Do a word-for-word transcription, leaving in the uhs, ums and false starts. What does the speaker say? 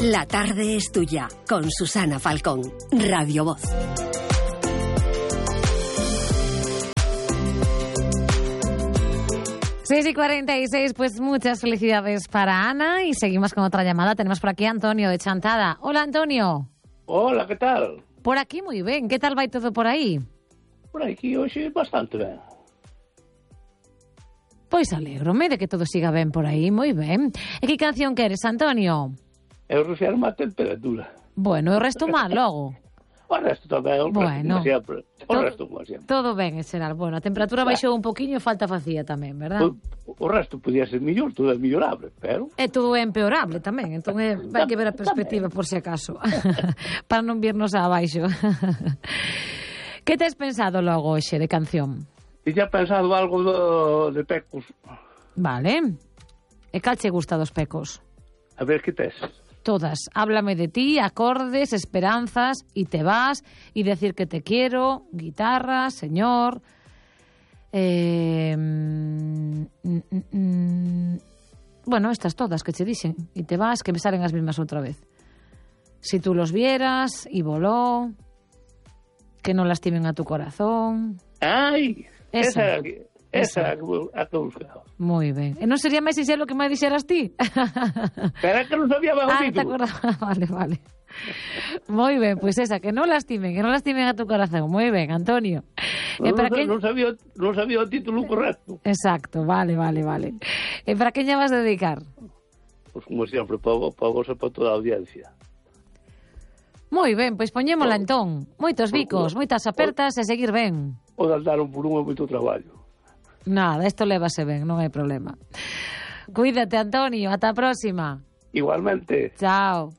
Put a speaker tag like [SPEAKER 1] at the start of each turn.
[SPEAKER 1] La tarde es tuya, con Susana Falcón, Radio Voz.
[SPEAKER 2] seis y cuarenta y seis, pues muchas felicidades para Ana y seguimos con otra llamada. Tenemos por aquí a Antonio de Chantada. Hola, Antonio.
[SPEAKER 3] Hola, ¿qué tal?
[SPEAKER 2] Por aquí muy bien. ¿Qué tal va todo por aí?
[SPEAKER 3] Por aquí hoxe bastante ben.
[SPEAKER 2] Pois alégrome de que todo siga ben por aí, moi ben. E que canción queres, Antonio?
[SPEAKER 3] Eu refiro a temperatura.
[SPEAKER 2] Bueno, o resto mal logo.
[SPEAKER 3] O resto tamén, o
[SPEAKER 2] bueno,
[SPEAKER 3] resto como sempre. O
[SPEAKER 2] todo,
[SPEAKER 3] resto como sempre.
[SPEAKER 2] Todo ben, en xeral. Bueno, a temperatura baixou un poquinho e falta facía tamén, verdad?
[SPEAKER 3] O, o resto podía ser millor, todo é millorable, pero...
[SPEAKER 2] É todo é empeorable tamén, entón é, vai que ver a perspectiva por si acaso, para non virnos abaixo. Que tes pensado logo hoxe de canción?
[SPEAKER 3] E xa pensado algo do, de Pecos.
[SPEAKER 2] Vale. E cal che gusta dos Pecos?
[SPEAKER 3] A ver, que tes?
[SPEAKER 2] Todas. Háblame de ti, acordes, esperanzas, y te vas, y decir que te quiero, guitarra, señor. Eh, mm, mm, mm, bueno, estas todas que che dixen. Y te vas, que me salen as mismas outra vez. Si tú los vieras, y voló, que no lastimen a tu corazón.
[SPEAKER 3] Ai,
[SPEAKER 2] esa,
[SPEAKER 3] esa, esa, esa a que buscaba.
[SPEAKER 2] Moi ben. E non sería máis sincero que me dixeras ti?
[SPEAKER 3] Pero é que non sabía ben o
[SPEAKER 2] ah,
[SPEAKER 3] título.
[SPEAKER 2] Vale, vale. Moi ben, pois pues esa, que non lastimen, que non lastimen a tu corazón. Moi ben, Antonio.
[SPEAKER 3] Non,
[SPEAKER 2] e para
[SPEAKER 3] non,
[SPEAKER 2] que...
[SPEAKER 3] non, sabía, non sabía o título correcto.
[SPEAKER 2] Exacto, vale, vale, vale. E para que lle vas a dedicar?
[SPEAKER 3] Pois pues, como sempre, para, para vos e para toda a audiencia.
[SPEAKER 2] Moi ben, pois poñémola entón. Moitos bicos, moitas apertas e seguir ben.
[SPEAKER 3] O de andar un por un é moito traballo.
[SPEAKER 2] Nada, isto lévase ben, non hai problema. Cuídate, Antonio, ata a próxima.
[SPEAKER 3] Igualmente.
[SPEAKER 2] Chao.